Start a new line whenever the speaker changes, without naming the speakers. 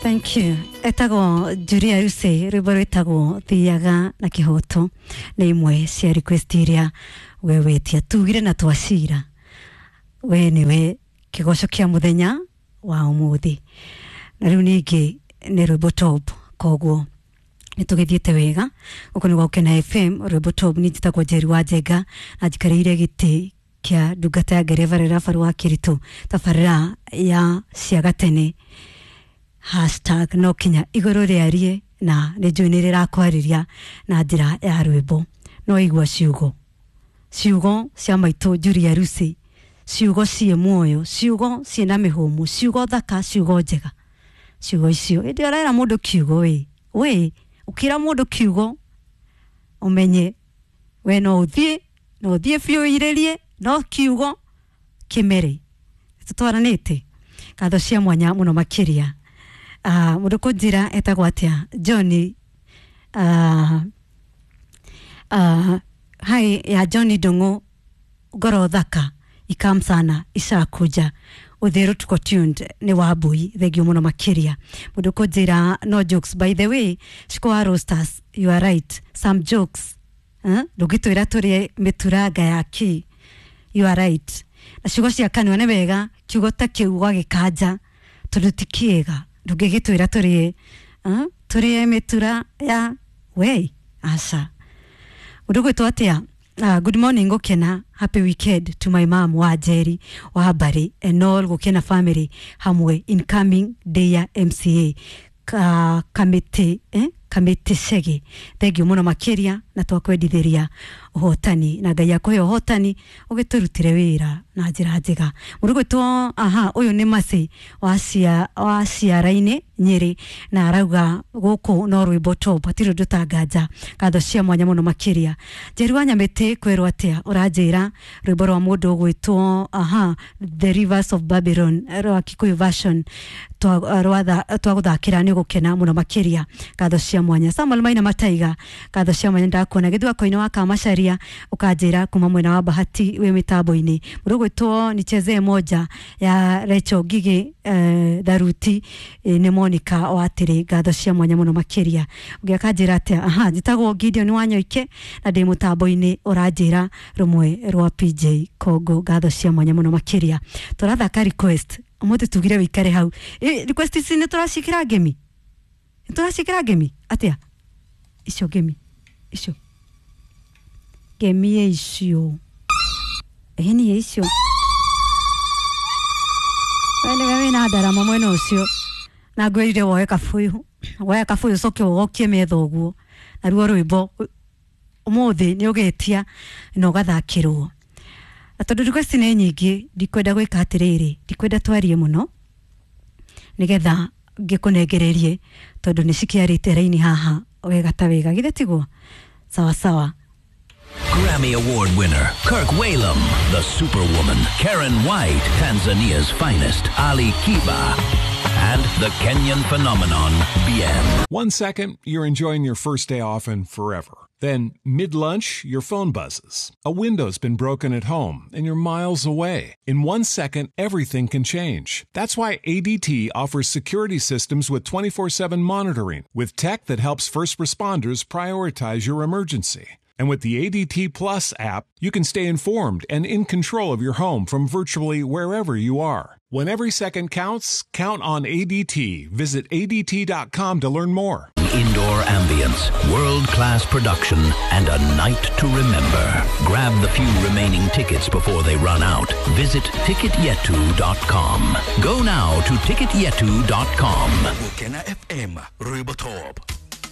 Thank you. Etagwo Julia Ruse, rwimbo rwitagwo Thiaga na Kihoto nĩ imwe cia request iria we wetia tugire na twacira we niwe kigoco kia muthenya wa umuthi na riu ningi nĩ rwimbo top koguo nĩ tũgĩthiĩte wega gũkũ nĩ Gũkena FM rwimbo top. Nĩ njĩtagwo Njeri wa Njenga na njikarĩire gĩtĩ kĩa ndungata ya ngereva Rĩrabaru wa Kĩritũ tabarĩra ya cia gatene hashtag no kinya igũrũ rĩarie na nĩ njũĩ nĩ rĩrakwarĩria na njĩra ya rwĩmbo no igua ciugo ciugo cia maitũ Julia Rusi, ciugo ciĩ muoyo, ciugo ciĩna mĩhũmũ, ciugo thaka, ciugo njega, ciugo icio ĩndĩ ũrera mũndũ kiugo wĩ ũkĩra mũndũ kiugo ũmenye we no ũthiĩ no ũthiĩ biũ irĩrie no kiugo kĩmere. Tũtwaranĩte ngatho cia mwanya mũno makĩria. Mũndũ kũnjĩra etagwo atĩa Johnny, hai ya Johnny Ndung'u ngoro thaka ikam sana ishakuja uthiru tuko tuned ni wambui thengio muno makiria. Mundu kunjira no jokes by the way shiko roasters you are right some jokes ndungitwira turie mituranga ya ki you are right na ciugo cia kanua nĩ wega kiugo ta kiu gwagĩkanja tondu ti kĩega ndungĩgĩtwĩra turie turie mitura ya we aca. Mundu gwĩtwo atĩa? Good morning Gukena, happy weekend to my mom wa Jerry wa Barry and all Gukena family hamwe incoming day ya MCA kamite kamite cege thengio muno makiria na twakwendithiria uhotani na Ngai akũhe uhotani ũgĩtũrutĩre wĩra na njĩra njega. Mũndũ gwĩtwo aha ũyũ nĩ Mercy wa ciara-inĩ Nyĩrĩ na arauga gũkũ no rwĩmbo top hatirĩ ũndũ tanganja ngatho cia mwanya mũno makĩria. Njeri wa Nyamĩtĩ kwĩrwo atĩa ũranjĩra rwĩmbo rwa mũndũ ũgwĩtwo aha The Rivers of Babylon rwa Kikuyu version twagũthakĩra nĩ gũkena mũno makĩria ngatho cia mwanya. Samuel Maina Mataiga ngatho cia mwanya ndakuona gĩthwako-inĩ wa Kamacharia ũkanjĩra kuma mwena wa Bahati wĩ mĩtambo-inĩ. Mũndũ ũgwĩtwo Nichezee moja ya Rachel Ngigĩ Tharuti nĩ Monica wa Atĩrĩ ngatho cia mwanya mũno makĩria. Ũngĩ akanjĩra atĩa aha njĩtagwo Gideon Wanyoike na ndĩ mũtambo-inĩ ũranjĩra rũmwe rwa PJ Kongo ngatho cia mwanya mũno makĩria. Tũrathaka request ũmũthĩ tugire wĩikare hau request ici nĩ tũraciĩkĩra ngemi nĩ tũraciĩkĩra ngemi atĩa icio ngemi icio ngemi icio ĩni icio wene wĩna ndarama mwena ũcio na ngwĩrire woe kabuyu woe kabuyu ũcoke ũgokie metha ũguo naruo rwĩmbo ũmũthĩ nĩ ũgetia na ũgathakĩrwo. Na tondũ request nĩ nyingĩ ndikwenda gwĩka atĩrĩrĩ ndikwenda twarie mũno nĩgetha ngĩkũnengererie tondũ nĩ cikĩarĩte raini haha wega ta wega githĩ tiguo sawa sawa.
Grammy Award winner Kirk Whalum, the Superwoman, Karen White, Tanzania's finest, Ali Kiba, and the Kenyan phenomenon, Bien.
1 second, you're enjoying your first day off and forever. Then, mid-lunch, your phone buzzes. A window's been broken at home, and you're miles away. In 1 second, everything can change. That's why ADT offers security systems with 24/7 monitoring, with tech that helps first responders prioritize your emergency. And with the ADT Plus app, you can stay informed and in control of your home from virtually wherever you are. When every second counts, count on ADT. Visit ADT.com to learn more.
Indoor ambience, world-class production, and a night to remember. Grab the few remaining tickets before they run out. Visit ticketyetu.com. Go now to ticketyetu.com.
Gukena FM, Rwimbo Top.